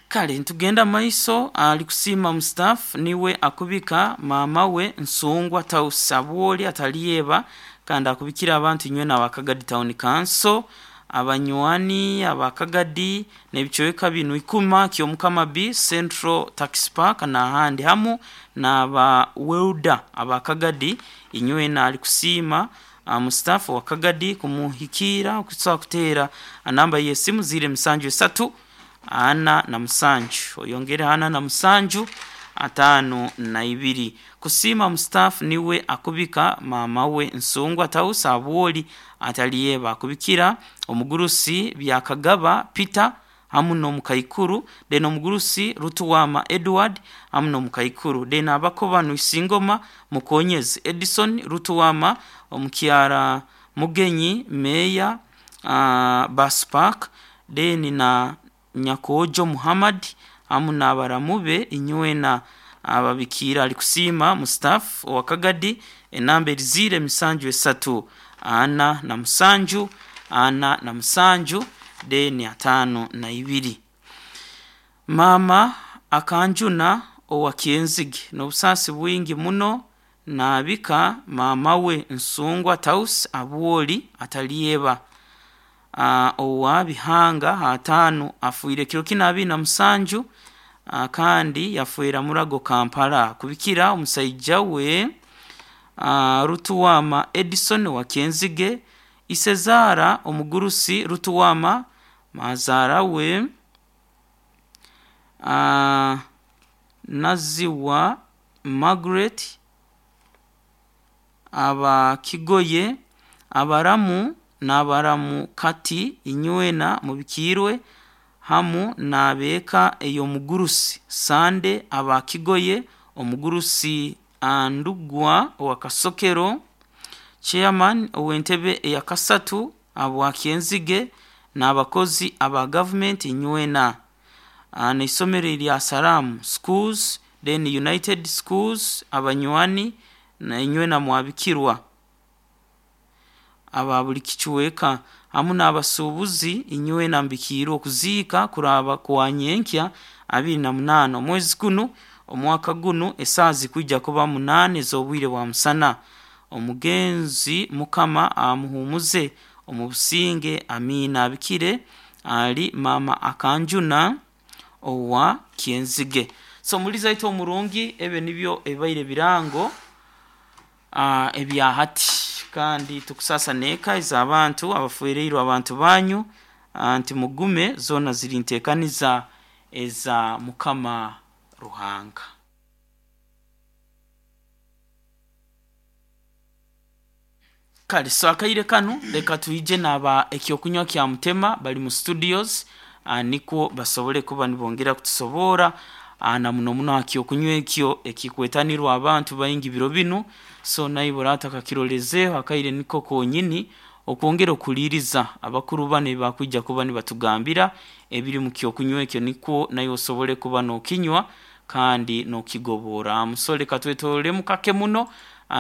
Kale nitugenda maiso ali kusiima Mustaf niwe akubika maama we Nsungwa Taus Abwoli Atalieba kandi akubikira abantu inywena aba Kagadi Town Council, abanywani aba Kagadi n'ebicweka binu Ikuma, Kyomukama B, Central Taxi Park n'ahandi hamu n'aba welder aba Kagadi inywena ali kusiima Mustaf wa Kagadi kumuhikiira okusobola kuteera namba y'esimu 073 47 oyongere 47 52. Kusiima Mustaf niwe akubika maama we Nsungwa Taus Abwoli Atalieba akubikira omugurusi Byakagaba Peter hamu n'omukaikuru then omugurusi Rutuwama Edward hamu n'omukaikuru then abakoba Isingoma Mukonyezi Edison Rutuwama omukyara Mugenyi Meya Bus Park then na Nyakojo Muhammad hamu n'abaramu be inywena ababikiira ali kusiima Mustaf owa Kagadi enamba eri 073 47 47 then 52. Maama akanjuna owa Kyenzige n'obusaasi bwingi muno naabika maama we Nsungwa Taus Abwoli Atalieba owa Bihanga 5 afiire kiro kinu 27 kandi yafiira Murago Kampala kubikira omusaija we Rutuwama Edison wa Kyenzige Isezaara omugurusi Rutuwama mazaara we Naziwa Margaret aba Kigoye abaramu n'abaramu kati inywena mubikiirwe hamu n'abeeka ey'omugurusi Sande aba Kigoye omugurusi Andugwa owa Kasokero chairman ow'entebe eya kasatu abwa Kyenzige n'abakozi aba gavumenti inywena n'eisomero erya Salamu Schools then United Schools abanywani na inywena mwabikirwa aba buli kicweka hamu n'abasuubuzi inywena mbikiirwe okuziika kuraba kwa nyenkya 28 omwezi gunu omwaka gunu esaaha zikwija kuba 8 ez'obwire bwa musana. Omugenzi Mukama amuhumuze omu businge amiina. Abikire ali maama akanjuna owa Kyenzige. So omulizi aitu omurungi ebyo nibyo ebibaire birango ebya hati kandi tukusasa n'eka ez'abantu abafereirwe abantu banyu nti mugume zoona ziri nteekaniza eza Mukama Ruhanga. Kale so akaire kanu leka twije n'aba ekyokunywa kya Mutema bali mu studios nikwo basobole kuba nibongera kutusoboora na muno muno aha kyokunywa ekyo ekikwetanirwa abantu baingi biro binu so naiwe oraata okakirolezeeho akaire niko konyini okwongera okuliiriza abakuru banu ebi bakwija kuba nibatugambira ebiri mu kyokunywa ekyo nikwo naiwe osobole kuba n'okinywa kandi n'okigobooraamu. So leka twetoororemu kake muno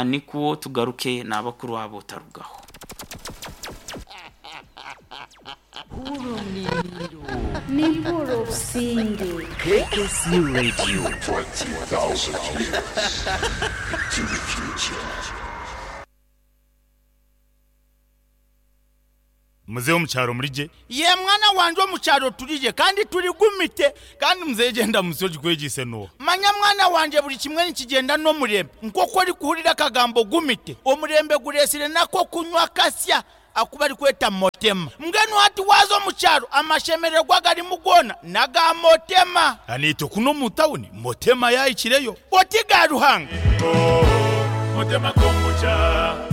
nikwo tugaruke n'abakuru abo otarugaho. Nimpura obusinge. KSU Radio. 20,000 years to the future. Muzehe omukyaro murije? Ye mwana wanje omukyaro turije kandi turigumite. Kandi muzehe genda musi ogikwegise noha? Manya mwana wanje buri kimwe nikigenda n'omurembe. Nk'oku orikuhurira akagambo gumite, omurembe guresire nako kunywa kasya aku barikweta motema. Mbwenu hati waaza omu kyaro amashemererwa garimu goona n'aga motema. Aniitwe kunu omu tawuni motema yahikireyo. Oti ga Ruhanga. Motema kombucha.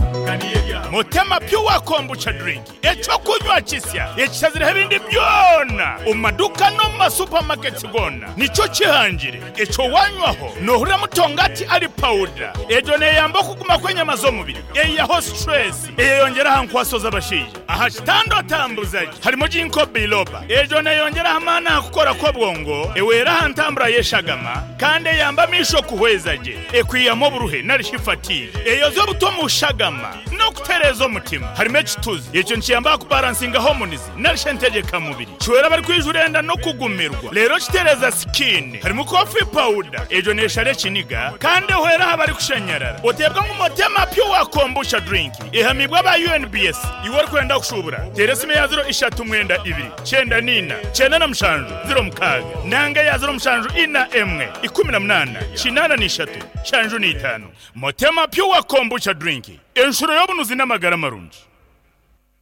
Motema Pure Kombucha Drink ekyokunywa kisya ekishazireho ebindi byona omu maduka n'omu masupamaketi goona nikyo kihangire ekyo wanywaho nohurira mutongati ari pawuda egyo neyamba okuguma kw'enyama z'omubiri eyihaho stress eyeyongyera aha nkwaso z'abashaija aha kitanda otambuza gye harimu ginkgo biloba egyo neyongyera amaani aha kukora kw'obwongo ewera aha ntambura y'eshagama kandi eyamba amaisho kuhweza gye ekwihamu oburuhe narishi fatigue eyoza obuto omu shagama N'okutereeza omutima. Harimu ekituzi. Ekyo nikiyamba aha kubaransinga hormones nari shi entegyekamubiri. Kihwera abarikwijura enda n'okugumirwa. Reero kitereeza skin. Harimu coffee powder. Egyo neeshara ekiniga kandi ehwera aha barikushanyarara. Oteebwa ngu Motema Pure Kombucha Drink ehamiibwe aba UNBS. Iwe orikwenda kushuubura, teera esimu eya ziro ishatu mwenda ibiri, kyenda n'ina, kyenda na mushanju, ziro mukaaga nanga eya ziro mushanju ina emwe, ikumi na munaana, kinaana n'ishatu, nshanju n'itaano. Motema Pure Kombucha Drink, enshuro y'obunuzi n'amagara marungi.